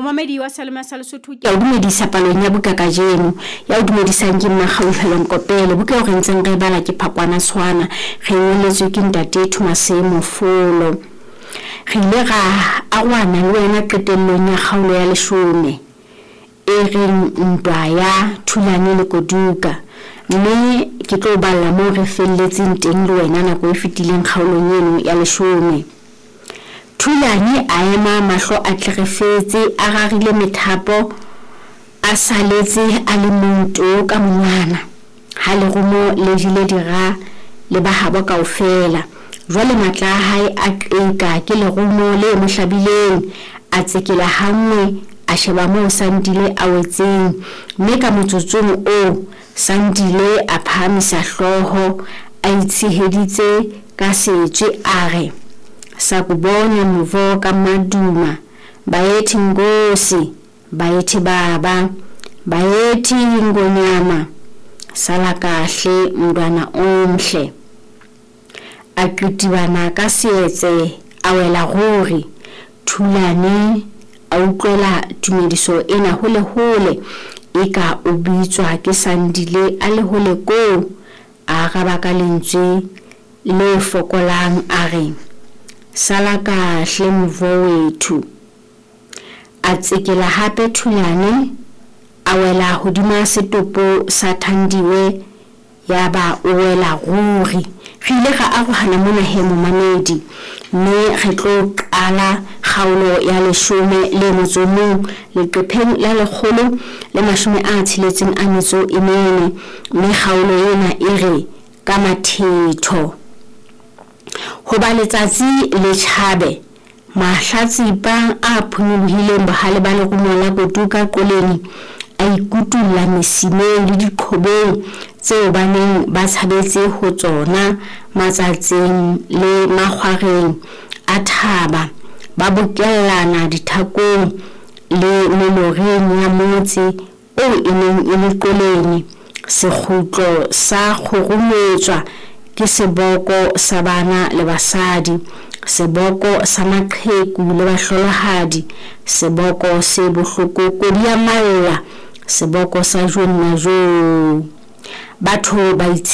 Momamedi wa Salema sa Lesotho ke o dumedisa palong ya buka kajeno. Ya o dumedisang ke Mmakgauhelo Nkopele. Buka eo re ntseng re e bala ke Phakwana Tshwana. Re ngoletswe ke Ntate Thomas Mofolo. Re ile ra arohana le wena qetellong ya kgaolo ya leshome e reng Ntwa ya Thulane le Koduka. Mme ke tlo balla moo re felletseng teng le wena nako e fetileng kgaolong eno ya leshome. Thulane a ema mahlo a tlerefetse, a rarile methapo, a saletse a le mong to ka monwana. Ha lerumo le jele dira le ba habo kaofela. Jwale matla a hae a qeka ke lerumo le mo hlabileng. A tsekela hanngwe, a sheba moo Sandile a wetseng, mme ka motsotsong oo Sandile a phahamisa hlooho a itsheheditse ka setswe a re, Sakubona Mvo ka Maduma, Baethi Nkosi, Baethi Baba, Baethi Ngonyama, Sala kahle mntwana omhle. A qitibana ka seetse a wela ruri. Thulane a utlwela tumediso ena hole-hole, eka o bitswa ke Sandile a le hole koo. A araba ka lentswe le fokolang a re, Sala kahle mfowethu. A tsekela hape Thulane, a wela hodima setopo sa Thandiwe yaba o wela ruri. Re ile ra arohana mona he momamedi, mme re tlo qala kgaolo ya leshome le motso o mong leqepheng la 164, mme kgaolo ena e re ka mathetho. Hoba letsatsi le tjhabe, mahlatsipa a phonyolohileng bohale ba lerumo la Kotuka Qoleni a ikutulla mesimeng le diqhobeng tseo ba neng ba tshabetse ho tsona matsatseng le makgwareng a thaba, ba bokellana dithakong le meloreng ya motse oo e neng e le Qoleni. Sekgutlo sa kgurumetswa ke seboko sa bana le basadi, seboko sa maqheku le bahlolohadi, seboko se bohloko kodi ya malla, seboko sa jonna joo. Batho ba